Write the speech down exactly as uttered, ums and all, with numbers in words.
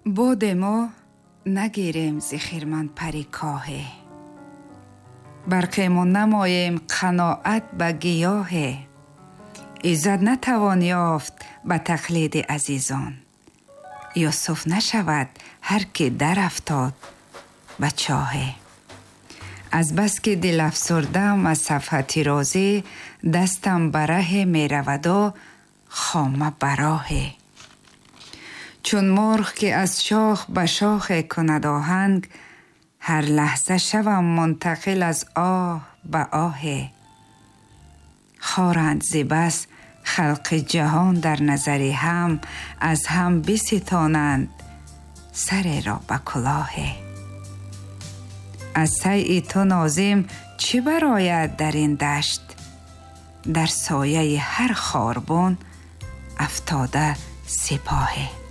Боде мо нагирем зи хирман пари коҳе, барқему намоем қаноат ба гиёҳе. Иззат натавон ёфт ба тақлиди азизон, Юсуф нашавад ҳар ки дарафтод ба чоҳе. Азбаски дилафсурдам аз сафҳати розӣ, дастам ба раҳе мераваду хома ба роҳе. Чун мурғ ки аз шох ба шохе кунад оҳанг, ҳар лаҳза шавам мунтақил аз оҳ ба оҳе. Хоранд зи бас халқи ҷаҳон дар назари ҳам, аз ҳам биситонанд сареро ба кулоҳе. Аз сайи ту нозим чӣ барояд дар ин дашт? Дар сояи ҳар хорбун афтода сипоҳе.